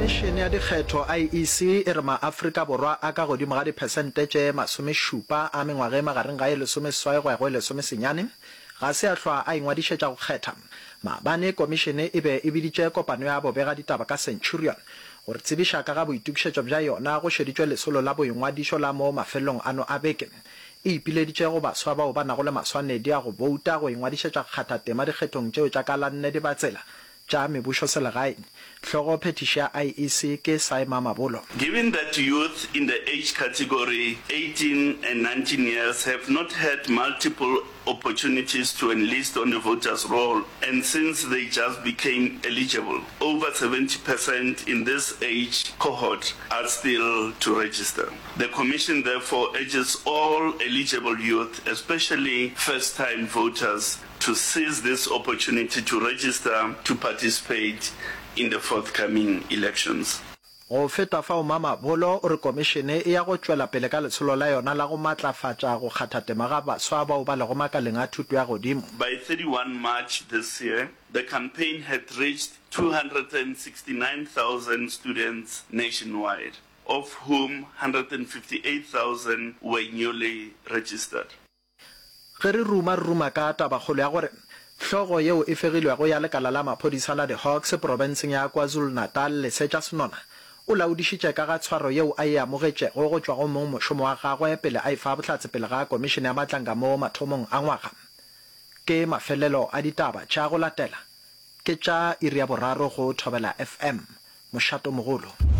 Komišene ya Dikgetho, IEC, e re maAfrika Borwa a ka godimo ga diphesente tše masomešupa a mengwaga e magareng ga e lesomeseswai go ya go e lesomesenyane ga se a hlwa a ingwadišetša go kgetha. Maabane komišene e be e biditše kopano ya bobegaditaba ka Centurion go re tsebiša ka ga boitokišetšo bja yona go šeditšwe lesolo la boingwadišo la mo mafelelong ano a beke. E ipileditše go baswa bao ba nago le maswanedi a go bouta go ingwadišetša go kgatha tema dikgethong tšeo tša ka la nne Dibatsela tša mebušoselegae. Hlogo phethiši ya IEC ke Sy Mamabolo. Given that youth in the age category 18 and 19 years have not had multiple opportunities to enlist on the voters roll and since they just became eligible, over 70 percent in this age cohort are still to register. The Commission therefore urges all eligible youth, especially first-time voters, to seize this opportunity to register to participate in the forthcoming elections. Go feta fao Mamabolo o re komišene e ya go tšwela pele ka lesolo la yona la go matlafatša go kgatha tema ga baswa bao ba lego makaleng a thuto ya godimo. By 31 March this year, the campaign had reached 269,000 students nationwide, of whom 158,000 were newly registered. Ge re ruma, re ruma ka tabakgolo ya gore hlogo yeo e fegilwego ya lekala la maphodisa la di-Hawks profenseng ya KwaZulu-Natal, Lesetša Senona, o laodišitše ka ga tshwaro yeo a e amogetšego go tšwa go mongmošomo wa gagwe pele a efa bohlatse pele ga Komišene ya Matlanga mo mathomong a ngwaga. Ke mafelelo a ditaba tša go latela ke tša iri ya boraro go Thobela FM, mošatomogolo.